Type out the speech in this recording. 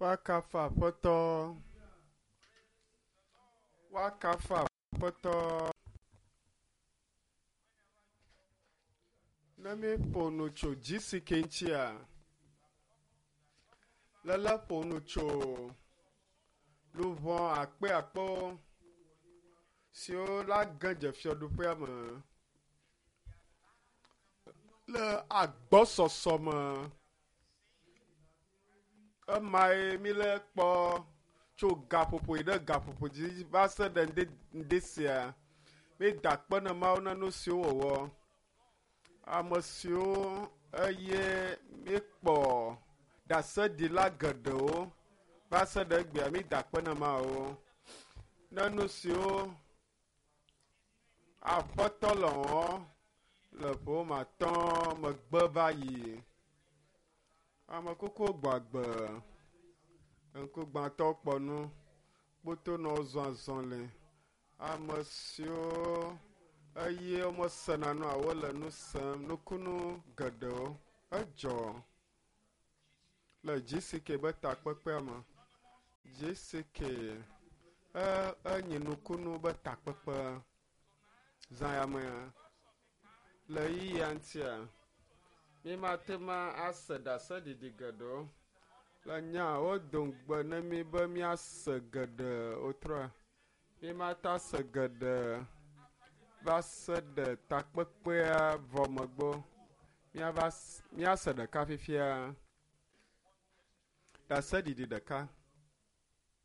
Woakafu Aƒetɔ. Woakafu Aƒetɔ. Ne míeƒo nu tso GCK ŋutia, lele ƒo nu tso luʋɔ akpeakpewo siwo la ge dze fiaɖuƒea me le agbɔsɔsɔ me. Emae míle kpɔ tso gaƒoƒo yi ɖe gaƒoƒo dzi va se ɖe ŋdi ŋdi sia. Míeda akpe na Mawu na nu siwo wòwɔ. Ame siwo eye míekpɔ ɖaseɖila geɖewo va se ɖe egbea míeda akpe na Mawu ne nu siwo Aƒetɔ le wɔm le ƒe matɔ̃ megbe va yi. Ame kukuwo gbɔ agbe, ŋkugbãtɔwo kpɔ nu, kpotonɔwo zɔ azɔli, ame siwo eye womesena nua wole nu sem, nukunu geɖewo edzɔ le GCK be takpekpea me. GCK e enyi nukunu be takpekpe zã ya mea. Le ɣeyiɣia ŋutia, mímate ŋu ase ɖaseɖiɖi geɖewo. Le nya wodo ŋugbe ne mí be míase geɖe wotrɔa. Mímate ase geɖe va se ɖe takpekpea vɔ megbe o. Míava míase ɖeka fifia. Ɖaseɖiɖi ɖeka.